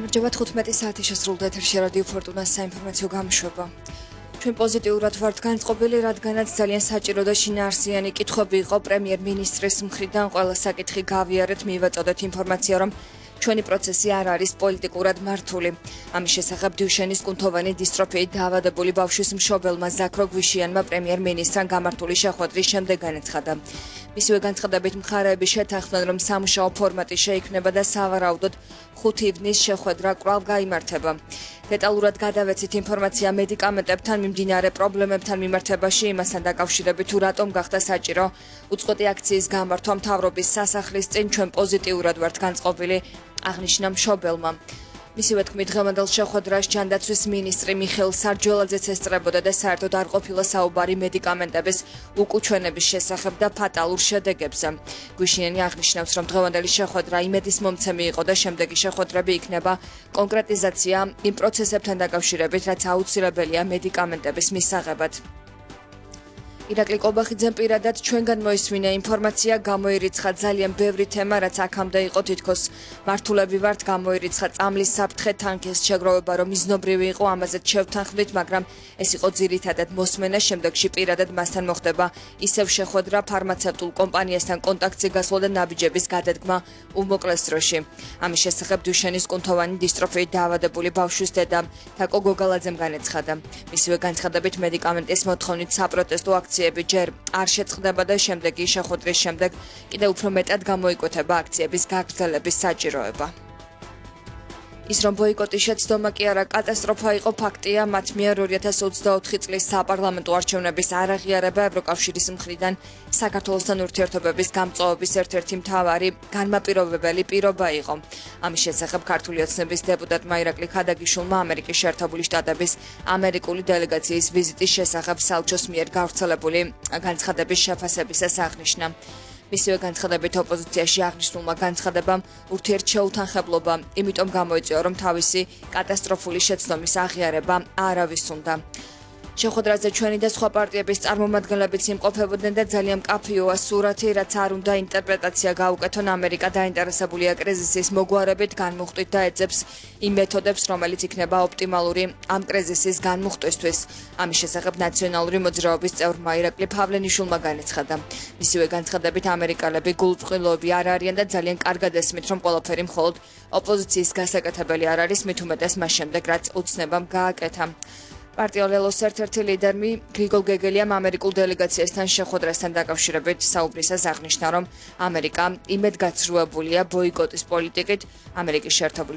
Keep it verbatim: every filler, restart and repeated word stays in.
გამარჯობა თხუთმეტი საათი შესრულდა ეთერში რადიო ფორტუნას საინფორმაციო გამოშვება. ჩვენ პოზიტიურად ვართ განწყობილი, რადგანაც ძალიან საჭირო და შინაარსიანი კითხვები იყო პრემიერ-მინისტრის მხრიდან. ყველა საკითხი გავიარეთ, მივაწოდეთ ინფორმაცია, რომ ჩვენი პროცესი არ არის პოლიტიკურად მართული. ამის შესახებ დიუშენის კუნთოვანი დისტროფიით დაავადებული ბავშვის მშობელმა ზაქრო გვიშიანმა პრემიერ-მინისტრთან გამართული შეხვედრის შემდეგ განაცხადა. მისივე განცხადებით მხარეები შეთანხმდნენ, რომ სამუშაო ფორმატი შეიქმნება და სავარაუდოდ ხუთი ივნის შეხვედრა კვლავ გაიმართება. დეტალურად გადავეცით ინფორმაცია მედიკამენტებთან მიმდინარე პრობლემებთან მიმართებაში, იმასთან დაკავშირებით თუ რატომ გახდა საჭირო უწყვეტი აქციის გამართვა მთავრობის სასახლის წინ. ჩვენ პოზიტიურად ვართ განწყობილი, აღნიშნა მშობელმა. მისივე თქმით, დღევანდელ შეხვედრას ჯანდაცვის მინისტრი მიხეილ სარჯველაძეც ესწრებოდა და საერთოდ არ ყოფილა საუბარი მედიკამენტების უკუჩვენების შესახებ და ფატალურ შედეგებზე. გვიშიანი აღნიშნავს, რომ დღევანდელი შეხვედრა იმედის მომცემი იყო და შემდეგი შეხვედრები იქნება კონკრეტიზაცია იმ პროცესებთან დაკავშირებით, რაც აუცილებელია მედიკამენტების მისაღებად. ირაკლი კობახიძემ პირადად ჩვენგან მოისმინა ინფორმაცია, გამოირიცხა ძალიან ბევრი თემა, რაც აქამდე იყო თითქოს მართულები ვართ, გამოირიცხა წამლის საფრთხე, თანქის შეგროვება, რომ მიზნობრივი იყო, ამაზეც შევთანხმდით, მაგრამ ეს იყო ძირითადად მოსმენა. შემდეგში პირადად მასთან მოხდება ისევ შეხვედრა, ფარმაცევტულ კომპანიასთან კონტაქტზე გასვლა და ნაბიჯების გადადგმა უმოკლეს დროში. ამის შესახებ დიუშენის კუნთოვანი დისტროფიით დაავადებული ბავშვის დედა თაკო გოგალაძემ განაცხადა. მისივე განცხადებით, მედიკამენტის მოთხოვნით საპროტესტო აქციები ჯერ არ შეწყდება და შემდეგი შეხვედრის შემდეგ კიდევ უფრო მეტად გამოიკვეთება აქციების გაგრძელების საჭიროება. ის რომ ბოიკოტი შეცდომა კი არა კატასტროფა იყო ფაქტია, მათ მიერ ორი ათას ოცდაოთხი წლის საპარლამენტო არჩევნების არაღიარება ევროკავშირის მხრიდან საქართველოსთან ურთიერთობების გამწვავების ერთ-ერთი მთავარი განმაპირობებელი პირობა იყო. ამის შესახებ ქართული ოცნების დეპუტატმა ირაკლი ქადაგიშვილმა ამერიკის შეერთებული შტატების ამერიკული დელეგაციის ვიზიტის შესახებ საელჩოს მიერ გავრცელებული განცხადების შეფასებისას აღნიშნა. მისივე განცხადებით ოპოზიციაში აღნიშნულმა განცხადებამ ურთიერთშეუთანხმებლობა, იმიტომ გამოიწვია, რომ თავისი კატასტროფული შეცდომის აღიარება არავის უნდა. შეხვედრაზე ჩვენი და სხვა პარტიების წარმომადგენლებიც იმყოფებოდნენ და ძალიან მკაფიოა სურათი, რაც არ უნდა ინტერპრეტაცია გაუკეთონ. ამერიკა დაინტერესებულია კრიზისის მოგვარებით, განმუხტვით და ეძებს იმ მეთოდებს, რომელიც იქნება ოპტიმალური ამ კრიზისის განმუხტვისთვის. ამის შესახებ ნაციონალური მოძრაობის წევრმა ირაკლი ფავლენიშვილმა განაცხადა. მისივე განცხადებით, ამერიკელები გულწრფელები არ არიან და ძალიან კარგად ესმით, რომ ყველაფერი მხოლოდ ოპოზიციის გასაკეთებელი არ არის, მით უმეტეს მას შემდეგ, რაც ოცნებამ გააკეთა. პარტია ლელოს ერთ-ერთი ლიდერმი გრიგოლ გეგელიამ ამერიკულ დელეგაციასთან შეხვედრასთან დაკავშირებით საუბრისას აღნიშნა, რომ ამერიკა იმედგაცრუებულია ბოიკოტის პოლიტიკით. ამერიკის შეერთებული